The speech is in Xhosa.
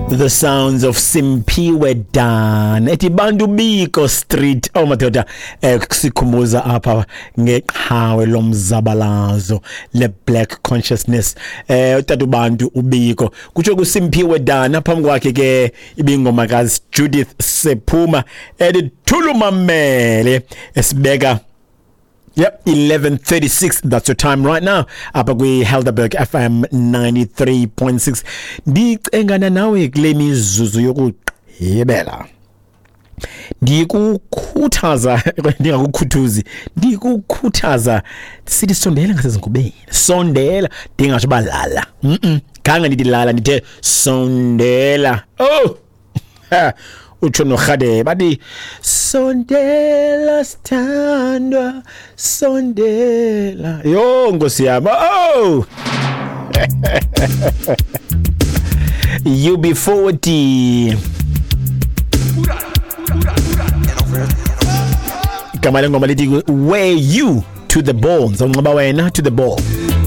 The sounds of Simphiwe Dan ethi Bantu Biko Street. Oh madoda, sikhumbuza apha ngeqhawe lomzabalazo le black consciousness, utata uBantu uBiko. Kutsho kuSimphiwe Dan, phambi kwakhe ke ibingoma kazi Judith Sephuma ethi Thulumamele, esibeka. Yep, 11:36, that's your time right now apha kwi-Helderberg FM 93.6. Ndicengana nawe kule mizuzu yokugqibela, ndikukhuthaza, ndingakukhuthuzi, ndikukhuthaza sithi sondela ngasezingubeni, sondela. Ndingatsho uba lala, khange ndithi lala, ndithe sondela. Oh ha, utsho norhadebe bathi sondela sithandwa, sondela. Yho nkosi yam. Oh, UB40, igama lengoma lithi "Wear You to the Bone", zawunxiba wena to the ball.